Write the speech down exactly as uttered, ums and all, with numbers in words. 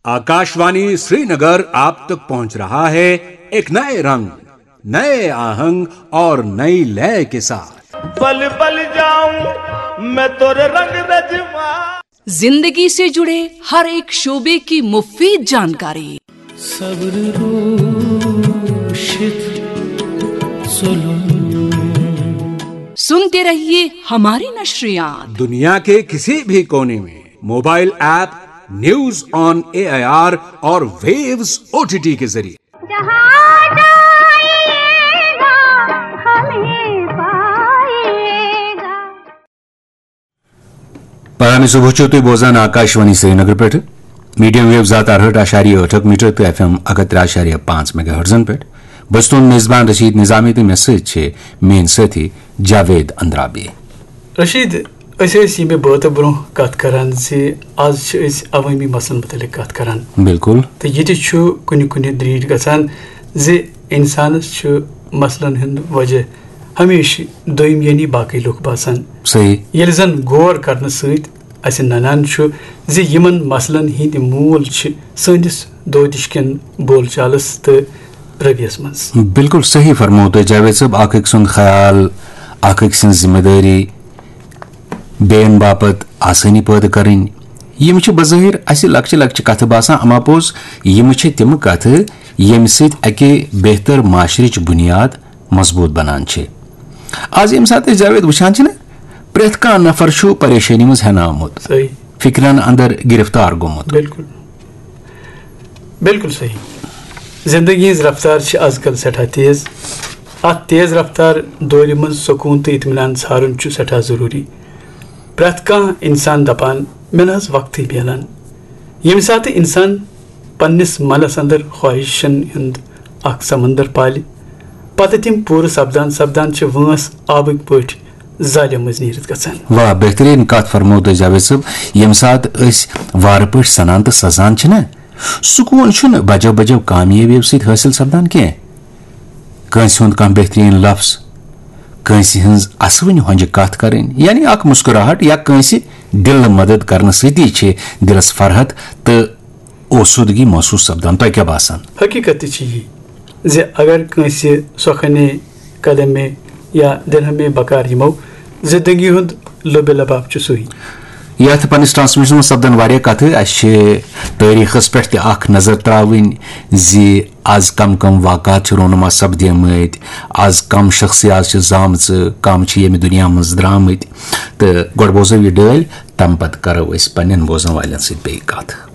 आकाशवाणी श्रीनगर आप तक पहुंच रहा है एक नए रंग, नए आहंग और नई लय के साथ। पल पल जाऊं मैं तोरे रंग रजवा। जिंदगी से जुड़े हर एक शोबे की मुफीद जानकारी। सब्र रोशित जुलूम। सुनते रहिए हमारी नशरियात। दुनिया के किसी भी कोने में mobile app news on AIR और वेव्स ओटीटी के जरिए। जहाँ जाइएगा हमें पाइएगा। پرامہِ صبح چھِو تُہۍ بوزان آکاشوانی سرینگر پٮ۪ٹھٕ، میٖڈیم ویو زٕ ہَتھ اَرہٲٹھ اَشاریہ ٲٹھ میٖٹر تہٕ ایف ایم اَکہٕ ہَتھ ترٛےٚ اَشاریہ پانٛژھ میگا ہرٹزن پٮ۪ٹھ۔ بہٕ چھُس تُہُنٛد میزبان رشیٖد نظامی تہٕ مےٚ سۭتۍ چھِ میٲنۍ سٲتھی جاوید اندرابی۔ رشیٖد، أسۍ ٲسۍ ییٚمہِ بٲتہٕ برونٛہہ کتھ کران زِ از چھِ أسۍ عوٲمی مسلن متعلق کتھ کران۔ بِلکُل۔ تہٕ یہِ تہِ چھُ کُنہِ کُنہِ دریٖٹھ گژھان زِ انسانس چھُ مسلن ہُنٛد وجہ ہمیشہِ دوٚیِم یعنی باقٕے لُکھ باسان۔ صحیح۔ ییٚلہِ زن غور کرنہٕ سۭتۍ اسہِ ننان چھُ زِ یِمن مسلن ہٕنٛدۍ موٗل چھِ سٲنِس دودِش کٮ۪ن بول چالس تہٕ رویس منٛز۔ بِلکُل صحیح فرموو تۄہہِ جاوید صٲب، اکھ أکۍ سُنٛد خیال، اکھ أکۍ سٕنٛز ذمہٕ دٲری، بیٚین باپتھ آسٲنی پٲدٕ کرٕنۍ۔ یِم چھِ بظٲہِر اسہِ لۄکچہِ لۄکچہِ کتھٕ باسان، اما پوٚز یِم چھِ تِم کتھٕ ییٚمہِ سۭتۍ اکہِ بہتر معاشرٕچ بُنیاد مضبوٗط بنان چھِ۔ از ییٚمہِ ساتہٕ أسۍ جاوید وٕچھان چھِ نہ، پرٛٮ۪تھ کانٛہہ نفر چھُ پریشٲنی منٛز ہٮ۪نہٕ آمُت، صحیح۔ فکرن اندر گرفتار گوٚمُت۔ بِلکُل۔ بِلکُل صحیح۔ زندگی ہٕنٛز رفتار چھِ از کل سٮ۪ٹھاہ تیز۔ اتھ تیز رفتار دورِ منٛز سکوٗن تہٕ اطمینان ژھارُن چھُ سٮ۪ٹھاہ ضروٗری۔ پرٛٮ۪تھ کانٛہہ انسان دپان، مےٚ نہ حظ وقتٕے میلان۔ ییٚمہِ ساتہٕ انسان پننِس منس اندر خواہشن ہُنٛد اکھ سمندر پالہِ، پتہٕ تِم پوٗرٕ سپدان سپدان چھِ وٲنٛس آبٕکۍ پٲٹھۍ زالہِ منٛز نیٖرِتھ گژھان۔ واہ، بہترین کتھ فرموو تۄہہِ جاوید صٲب۔ ییٚمہِ ساتہٕ أسۍ وارٕ پٲٹھۍ سنان تہٕ سزان چھِنہ، سکوٗن چھُنہٕ بجو بجو کامیٲبیو سۭتۍ حٲصِل سپدان کینٛہہ۔ کٲنٛسہِ ہُنٛد کانٛہہ بہترین لفظ، کٲنٛسہِ ہٕنٛز اسوٕنۍ ہۄنجہِ کتھ کرٕنۍ، یعنی اکھ مسکراہٹ یا کٲنٛسہِ دِلہٕ مدد کرنہٕ سۭتی چھِ دِلس فرحت تہٕ اوسودگی محسوس سپدان۔ تۄہہِ کیٛاہ باسان؟ حقیقت تہِ چھِ یی زِ اگر کٲنٛسہِ سۄکھنے، قدمے یا درہمے بکار یِمو زندگی ہُنٛد لُبہِ لباب چھُ سُے۔ یتھ پننِس ٹرانسمیشنس منٛز سپدن واریاہ کتھٕ۔ اسہِ چھِ تٲریخس پٮ۪ٹھ تہِ اکھ نظر تراوٕنۍ زِ از کم کم واقعات چھِ رونما سپدیمٕتۍ، از کم شخصیات چھِ زامژٕ، کم چھِ ییٚمہِ دُنیا منٛز درامٕتۍ۔ تہٕ گۄڈٕ بوزو یہِ ڈٲلۍ، تمہِ پتہٕ کرو أسۍ پننٮ۪ن بوزن والٮ۪ن سۭتۍ بیٚیہِ کتھ۔